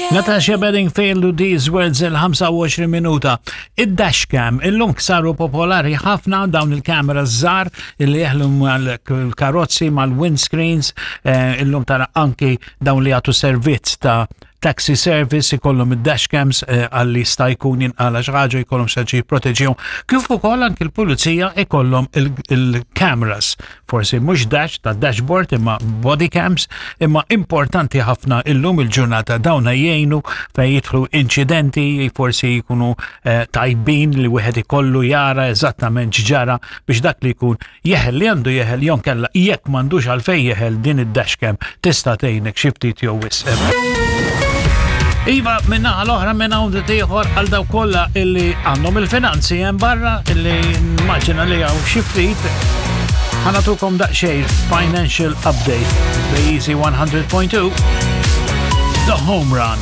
Natasha Bedingfield u These Words il-25 minuta. Id-dashcam illum saru popolari ħafna dawn il-kamera żgħar illi jeħlu mal-karozzi, mal-windscreens, eh, illum tara anki dawn li jagħtu servizz ta' taxi service ikollhom id-dashcams eh, għalli sta jkun jinqala xi ħaġa jkollhom xi jipproteġihom. Kif ukoll anki l-pulizija ikollhom il-cameras forsi mhux dash ta' dashboard imma body cams, imma importanti ħafna illum il-ġurnata dawna jgħinu fejn jidħlu inċidenti, forsi jkunu eh, tajbin li wieħed ikollu jara eżattament x'ġara biex dak li jkun jeħel li għandu jeħel jew kella jekk m'għandux għalfejn jeħel din id-dashcam tista' tgħinek xi ftit jew wisq. Iva, minna għal-oħra minn hawn ieħor għal daw kollha illi għandhom il-finanzi hemm barra illi maġina li hawn xi ftit. Ħanatukom daqsxejn financial update. The Easy 100.2 The Home Run.